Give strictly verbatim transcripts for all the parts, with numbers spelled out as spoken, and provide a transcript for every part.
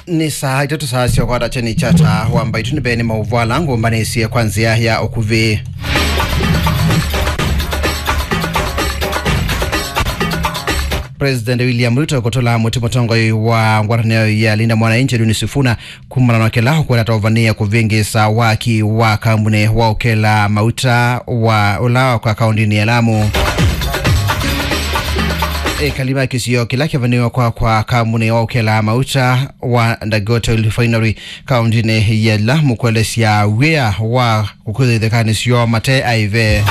Nĩ saa itatũ saa sya ũkwata kyeni kya taa wa mbaitũ. Nĩ mbee nĩ maũvoo ala ngũmbanĩsye kwa nzĩa ya ũkuvĩ. President William Ruto kũtũla mũtĩ mũtongoi wa ngwatanĩo ya Linda Mwananchi Edwin Sifuna kumana na kĩla ũkwenda atovanĩe kũvĩngĩsa waki wa kambuni wa ũkela mauta wa ũla kwa kaũndĩnĩ ya Lamu. Ekali ma kĩsio kĩla kĩvanĩwe kwa kwa kambuni wa ũkela mauta wa Dangote Refinery kaũndĩnĩ ya Lamu kũelesya wĩa wa kũkwĩthĩthĩkanĩsyo mate aive.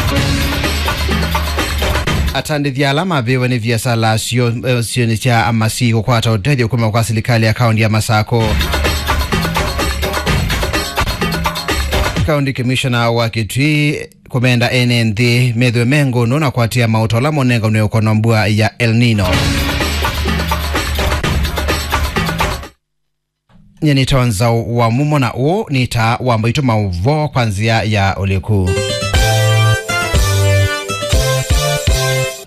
Atandĩthya ala mavĩwe nĩ viasala sio, eh, sionĩ sya amasi kũkwata ũtethyo kuma kwa silikalĩ ya kaũndi ya Masako. Kaũndi Commissioner wa Kitui kũmenda ene nthĩ methwe me ngũnũ na kwatia maũta ala monenganwe ũkono mbua ya El Nino. Nyie nĩtawa Nzaũ wa Mumo na ũũ nĩ taa wa mbaitũ maũvoo kwa nzĩa ya ũliku.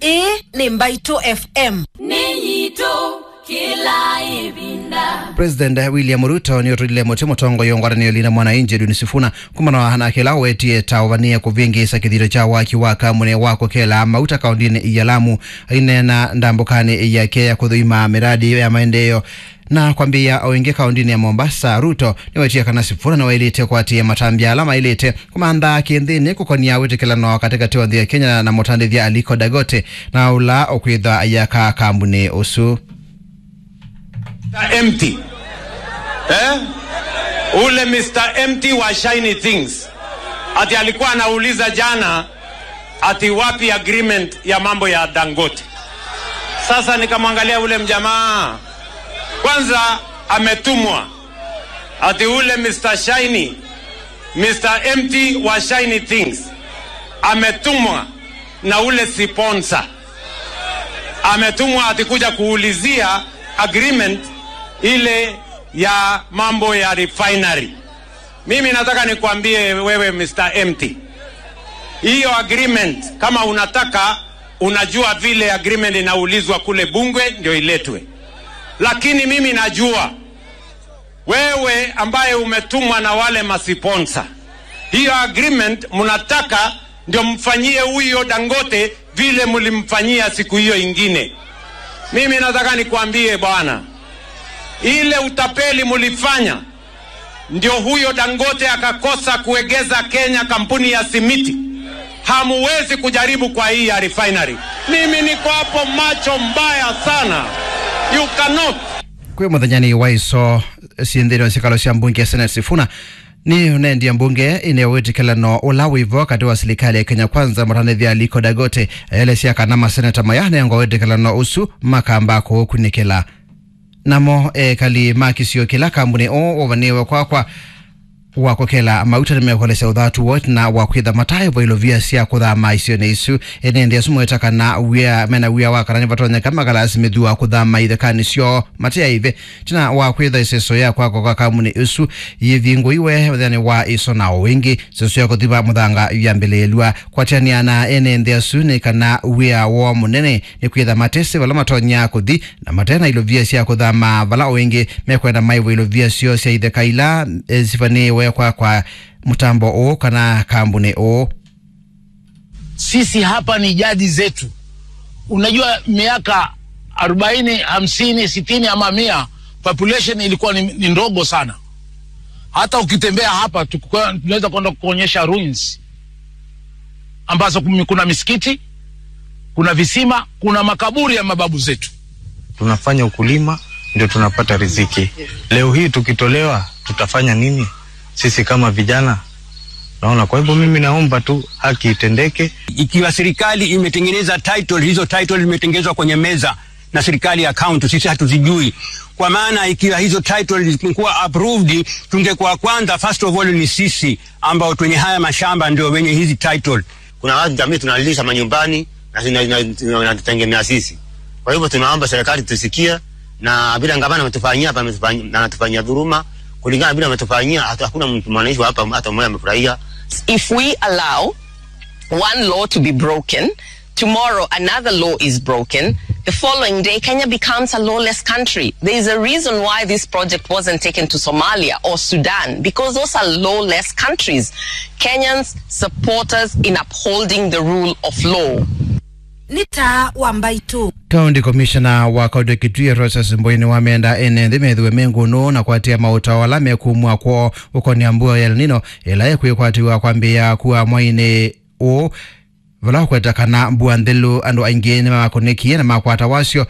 Ĩĩ nĩ Mbaitũ F M. Nĩ yitũ kĩla ĩvinda. President William Ruto nĩũtũlile mũtĩ mũtongoi wa ngwatanĩo Linda Mwananchi Edwin Sifuna kumana na kĩla ũwetie ta ũvanĩe kũvĩngĩĩsa kĩthito kya waki wa kambuni wa kũkela mauta kaũndĩnĩ ya Lamu. Aineena ndambũkanĩ yake ya kũthũima mĩradi ya maendeeo na kwambĩĩa o ĩngĩ kaũndĩnĩ ya Mombasa, Ruto nĩwetie kana Sifuna nĩwaĩlĩte kũatĩĩa matambya ala maĩlĩte kũmantha kĩnthĩnĩ kũkonia wĩtĩkĩlano katĩkatĩ wa nthĩ ya Kenya na mũtandĩthya Aliko Dangote na ũla ũkwĩthwa ayaka kambuni ũsu. Mister Empty. Eh? Ule Mister Empty wa Shiny Things. Ati alikuwa anauliza jana ati wapi agreement ya mambo ya Dangote. Sasa nikamwangalia ule mjamaa. Kwanza ametumwa. Ati ule Mister Shiny, Mister Empty wa Shiny Things. Ametumwa na ule sponsor. Ametumwa ati kuja kuulizia agreement ile ya mambo ya refinery. Mimi nataka nikwambie wewe Mister Empty. Hiyo agreement kama unataka, unajua vile agreement inaulizwa kule bunge ndio iletwe. Lakini mimi najua wewe ambaye umetumwa na wale masiponsa, hiyo agreement mnataka ndio mfanyie huyo Dangote vile mlimfanyia siku hiyo ingine. Mimi nataka nikwambie bwana, ile utapeli mlifanya ndio huyo Dangote akakosa kuegeza Kenya kampuni ya simiti. Hamuwezi kujaribu kwa hii ya refinery. Mimi niko hapo macho mbaya sana. You cannot. Kwĩ mũthenyanĩ wa iso syĩ nthĩnĩ wa syĩkalo sya mbunge ya Senate, Sifuna nĩ ũnendie mbunge ĩneo wĩtĩkĩlano ũla wĩvo katĩ wa silikalĩ ya Kenya Kwanza mũtanĩthya Aliko Dangote. Aelesya kana maseneta maya nengwa wĩtĩkĩlano ũsu makamba kũũkunĩkĩla. Namo ekali ma kĩsio kĩla kambuni ũũ ũvanĩwe kwakwa wa kũkela mauta nĩmekolesya ũthatu woo ĩtina wa kwĩtha mataĩvo ilovia sya kũthama isionĩ isu. Ene nthĩ asu mweta kana wĩa, mena wĩa wa kana nĩvatonyeka makalasi mĩthua kũthama ithekanĩ syoo mate aive. Ĩtina wa kwĩtha ĩseso ya kwakwa kwa kambuni ĩsu yĩvingũiwe mũthenyanĩ wa ĩso na o ĩngĩ, ĩseso ya kũthima mũthanga yambĩlĩĩlw'a. Kwatĩanĩa na ene nthĩ asu nĩ kana wĩa woo mũnene nĩ kwĩtha matesĩ vala matonya kũthi na mate na ilovia sya kũthama vala o ĩngĩ mekwenda maĩvwe ilovia syoo sya itheka ila, eh, sivanĩĩwe kwa, kwa mũtambo ũũ kana kambuni ũũ. Sisi hapa ni jadi zetu. Unajua, miaka arobaini, hamsini, sitini ama mia, population ilikuwa ni, ni ndogo sana. Hata ukitembea hapa, tukuwa-, tunaweza kwenda kuonyesha ruins ambazo kumi-, kuna misikiti, kuna visima, kuna makaburi ya mababu zetu. Tunafanya ukulima, ndio tunapata riziki. Leo hii tukitolewa, tutafanya nini sisi kama vijana? Naona, kwa hivyo mimi naomba tu haki itendeke. Ikiwa serikali imetengeneza title, hizo title zimetengenezwa kwenye meza na serikali ya county, sisi hatuzijui. Kwa maana ikiwa hizo title zilikuwa approved, tungekuwa kwanza, first of all, ni sisi ambao twenye haya mashamba ndio wenye hizi title. Kuna watu jamii tunalisha manyumbani na zina-, zina-, zina-, zinatutegemea sisi. Kwa hivyo tunaomba serikali tusikie, na vile gavana ametufanyia hapa, ametufanyia, na anatufanyia dhuluma, kulingana na vile ametufanyia, hata hakuna mtu mwananchi wa hapa hata mmoja amefurahia. If we allow one law to be broken, tomorrow another law is broken, The following day, Kenya becomes a lawless country. There is a reason why this project wasn't taken to Somalia or Sudan, because those are lawless countries. Kenyans, support us in upholding the rule of law. Nĩ taa wa mbaitũ. County Commissioner wa kaunti ya Kitui, Rosas Mboi, nĩwamenda ene nthĩ methĩwe me ngũnũ na kũatĩĩa maũtao ala mekumw'a kwoo ũkonĩa mbua ya El Nino ĩla ĩkwĩkwatĩw'a kwambĩĩa kua mweinĩ ũũ, vala ũkweta kana mbua nthelu andũ aingĩ nĩmakũnĩkie na makwata wasyo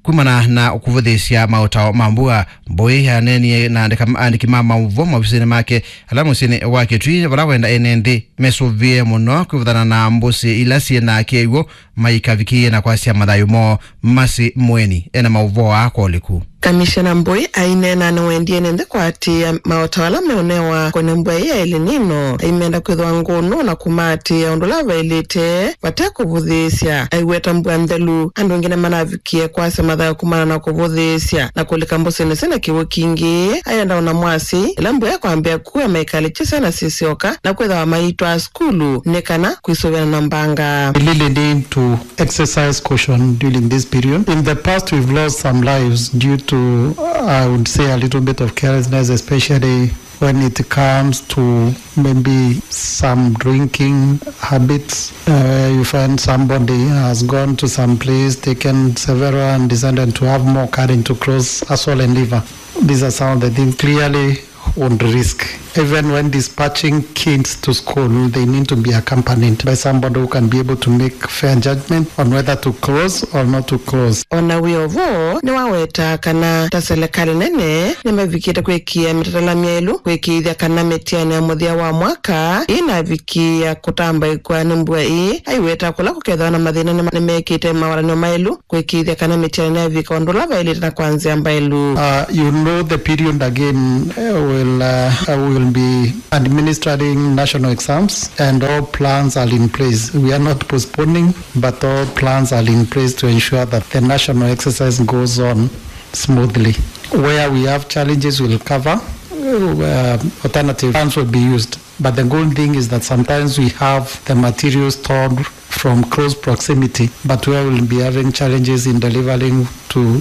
kumana na kũvũthĩĩsya maũtao ma mbua. Mboi aneenie na andĩka-, aandĩki ma maũvoo maovisinĩ make ala mũsyĩnĩ wa Kitui, vala wenda ene nthĩ mesũvĩe mũno kwĩvũthana na mbũsĩ ila syĩ na kĩw'ũ maikavikĩĩe na kwasya mathayũ moo. Masi Mweni ena maũvoo aa kwa ũliku. Kamishena Mboi aineena nĩwendie ene nthĩ kũatĩĩa maũtao ala meũnewa kũnĩ mbua ĩĩ ya El Nino, aimenda kwĩthĩwa ngũnũ na kũmaatĩĩa ũndũ ũla vaĩlĩte vate kũvũthĩĩsya. Aiweta mbua nthelu, andũ aingĩ nĩmanavikie kwasya mathayũ kumana na kũvũthĩĩsya na kũlika mbũsĩnĩ syĩna kĩw'ũ kingĩ. Ayenda ona mwasi ĩla mbua ĩkwambĩa kua maikalĩkye syana sisyoka na kwĩthĩwa maitwaa sukulu nĩ kana kwĩsũvĩana na mbanga. We really need to exercise caution during this period. In the past, we've lost some lives due to, I would say, a little bit of carelessness, especially when it comes to maybe some drinking habits. Uh, you find somebody has gone to some place, taken several, and decided to have more courage to cross a swollen liver. These are some of the things clearly would risk. Even when dispatching kids to school, they need to be accompanied by somebody who can be able to make fair judgment on whether to cross or not to cross. Ona wĩ o vo, nĩwaweta kana ta selekalĩ nene nĩmavikĩte kwĩkĩa mĩtatala myaĩlu kwĩkĩĩthya kana mĩtiani ya mũthya wa mwaka ĩnavikĩĩa kũtambaĩkw'a nĩ mbua ĩĩ. Aiweta kũla kũkethĩwa na mathĩna nĩma-, nĩmekĩte mawatany'o maĩlu kwĩkĩĩthya kana mĩtiani nĩyavika ũndũ ũla vaĩlĩte na kwa nzĩa mbaĩlu. Uh, you know the period again, uh, will, uh, uh, will be administering national exams, and all plans are in place. We are not postponing, but all plans are in place to ensure that the national exercise goes on smoothly. Where we have challenges, we'll cover, uh, alternative plans will be used. But the good thing is that sometimes we have the materials stored from close proximity, but where we'll be having challenges in delivering to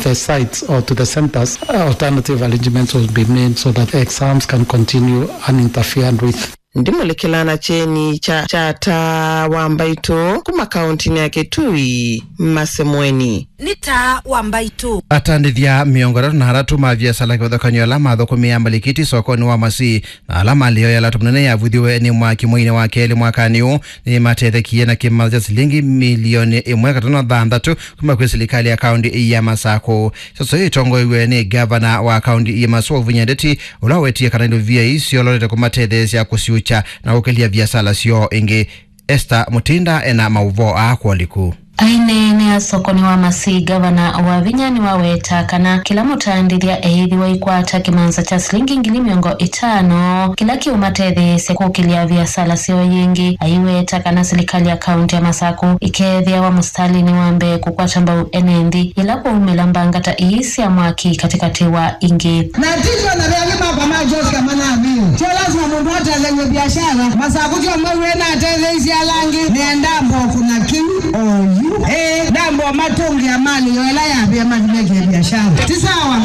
the sites or to the centers, alternative arrangements will be made so that exams can continue uninterfered with. Ndimũlĩkĩla na kyeni kya, kya taa wa mbaitũ kuma kauntinĩ ya Kitui, Masi Mweni. Nĩ taa wa mbaitũ. Atandĩthya mĩongo ĩtatũ na atatũ ma viasala kĩvathũkany'o ala mathũkũmĩaa malikiti sokonĩ wa Masi na ala malĩo ya lato mũnene yavuthiwe nĩ mwaki mweinĩ wa kelĩ mwakanĩ ũũ nĩmatethekie na kĩmantha kya silingi milioni ĩmwe katano thanthatũ kuma kwĩ silikalĩ ya kaunti ya Masakũ. Sasa ĩtongoew'e nĩ ngavana wa kaunti ya Masakũ, Wavinya Ndeti, ũla wetie kana indo via isu syololete kũmatetheesya kũsiũkya na kũkĩlya viasala syoo ĩngĩ. Esther Mutinda ena maũvoo aa kwa ũliku. Aineenea sokonĩ wa Masi, ngavana Wavinya nĩwaweta kana kĩla mũtandĩthya eĩthĩwa aikwata kĩmanza kya silingi ngili mĩongo ĩtano kĩla kĩũmatetheesya kũkĩlya viasala syoo yĩngĩ. Aiweta kana silikalĩ ya kaunti ya Masakũ ĩkeethĩawa mũsitalĩnĩ wa mbee kũkwata mbau ene nthĩ yĩla kwaumĩla mbanga ta ii sya mwaki katĩkatĩ wa ingĩ. Na ti twona ve angĩ makwa ma Jessica manavĩwe. Tyo lazima mũndũ atethew'e biashara. Masakũ tyo maw'e na atetheisye ala angĩ. Nĩ ndambo kũna kĩu oyu. Ĩĩ, ndambo matũngĩa mali yo ĩla yavĩa mathi mekĩe biashara. Ti sawa.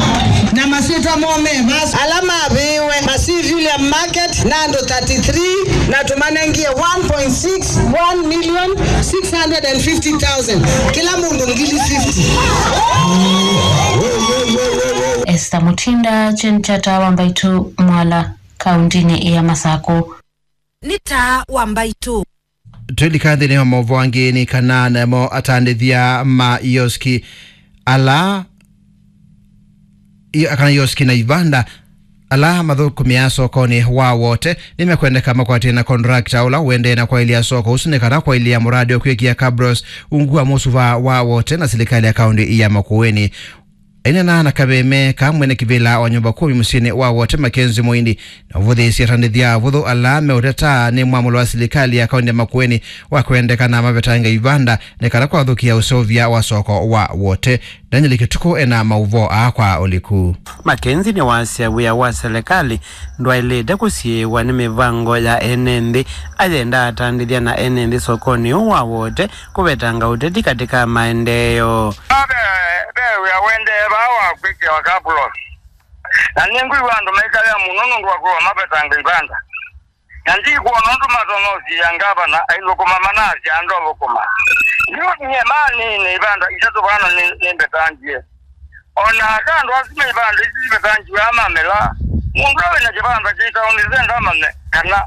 Na masyĩtwa moo me vasa. Ala mavĩĩwe Masi Villiam Market na andũ thirty-three na tũmanengie one point six one million six hundred and fifty thousand. Kĩla mũndũ ngili fifty. Esther Mutinda, Jen Chata wa Mbaitu Mwala, kauntinĩ ya Masakũ. Nĩ taa wa Mbaitu. Twĩlika nthĩnĩ wa maũvoo angĩ nĩ kana namo atandĩthya ma ioski ala i-, kana ioski na ivanda ala mathũkũmĩaa sokonĩ wa Wote nĩmekwendeka makwatĩe na contractor ũla ũendee na kwaĩlya soko ũsu nĩ kana kwaĩlya mũradi wa kwĩkĩa cabros ungu wa mũsuva wa Wote na silikalĩ ya kaunti ya Makueni. Aineena na kaveme ka mwene kĩvĩla wa nyũmba kũmi mũsyĩnĩ wa Wote, Mackenzie Mũindi, na ũvũthĩĩsye atandĩthya avũthũ ala meũteta nĩ mwamũlo wa silikalĩ ya kaunti ya Makueni wa kwendeka na mavetanga ivanda nĩ kana kwathũkĩa ũseũvya wa soko wa Wote. Daniel Kĩtukũ ena maũvoo aa kwa ũliku. Mackenzie nĩwasya wĩa wa selekalĩ ndwaĩlĩte kũsiĩĩwa nĩ mĩvango ya ene nthĩ. Ayenda atandĩthya na ene nthĩ sokonĩ ũũ wa Wote kũvetanga ũteti katĩ ka maendeeo. Ve, ve wĩa ũendee vaa wa kwĩkĩwa kapulosi. Na nĩngwĩw'a andũ maikalea mũno nũndũ wa kwĩwa mavetanga ivanda. Na ndikwona ũndũ matonya ũsiĩa ngavana aithũkũma manasya andũ athũkũma. Yu nyie maanĩĩne ivanda itatũ vano nĩ, nĩmbetangie. O na aka andũ asu me ivanda isu sivetangiwe amamela. Mũndũ ũla wĩna kĩvanda kĩ taoni senda amanye kana,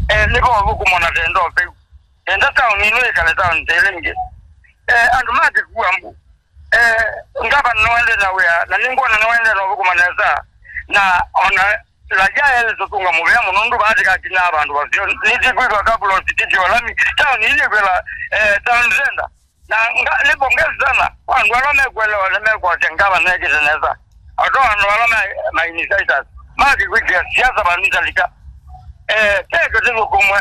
eh, nĩvo ũthũkũmo na tenda ũtheu. Tenda taoni ĩno ĩkale taoni ta ĩla ĩngĩ. Eh, andũ ma kĩkua mbu. Eh, ngavana nĩwaendee na wĩa, na nĩngwona nĩwaendee na ũthũkũma nesa. Na ona Raja elĩ tũtũnga mũvea mũno, nũndũ vaatika akinya vandũ vaseo. Nĩtĩkwĩka kabula ũsitĩtyo lami, taoni ĩyĩkwĩla, eh, town center. Na nga-, nĩ pongezi sana kwa andũ ala mekuelewa, nĩmekwasya ngavana ekĩte nesa. Oto andũ ala ma, ma initiators, makĩkwĩkĩa siasa vandũ italika. Eh, teke tĩthũkũmwe.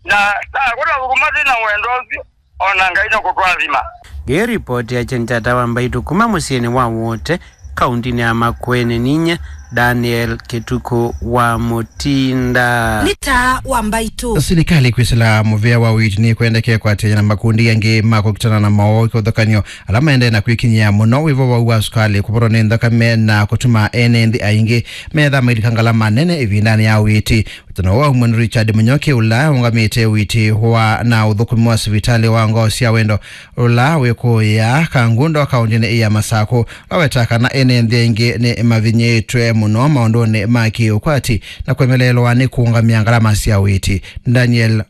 Na ta kũla thũkũma twĩ na wendo ũsu, o na Ngai nĩkũtwathima. Nĩ ripoti ya Kyeni kya Taa wa Mbaitũ kuma mũsyĩnĩ wa Wote, kauntinĩ ya Makueni, ninyie Daniel Kĩtukũ wa Mũtinda. Nĩ Taa wa Mbaitũ. Silikalĩ kwĩsĩla mũvea wa ũiiti nĩkwendekee kwatĩanĩa na makundi angĩ ma kũkitana na mowau kĩvathũkany'o ala maendee na kwĩkinyĩa mũno wĩvo wa sukalĩ, kũvũthwa nĩ nthakame na kũtuma ene nthĩ aingĩ metha mailika ngalama nene ĩvindanĩ ya ũiiti. Ũtano wa ũmwe nĩ Richard Mũnyoki, ũla ũngamĩte ũiiti wa na ũthũkũmi wa sivitalĩ wa Ngoo sya Wendo, ũla wĩkũĩa Kangundo kaũntĩnĩ ya Masakũ, ũla wetaa kana ene nthĩ aingĩ nĩ mavinyĩĩtwe mũno maũndũnĩ ma kĩũkwati na kũemeleelwa nĩ kũũngamĩa ngalama sya ũiiti. Daniel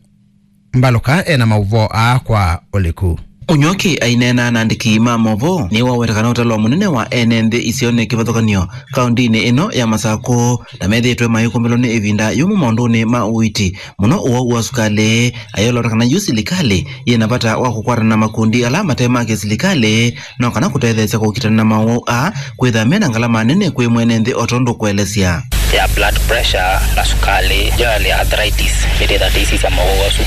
Mbalũka ena maũvoo aa kwa ũliku. Ũnyoki aineena na andĩki ma movoo nĩwaweta kana ũtalo mũnene wa ene nthĩ isionĩ kĩvathũkany'o kaũntĩnĩ ĩno ya Masakũ na methĩĩtwe mayĩkũmbĩlwa nĩ ĩvinda yũmũ maũndũnĩ ma ũiiti, mũno ũwau wa sukalĩ. Ayolota kana yu silikalĩ yĩ na vata wa kũkwatana na makundi ala mate ma kĩsilikalĩ no kana kũtetheesya kũkitana na mowau aa kwĩtha me na ngalama nene kwĩ mwene nthĩ o tondũ kũelesya ya blood pressure na sukalĩ, generally arthritis, nĩtĩtha ndĩsisya mowau asu.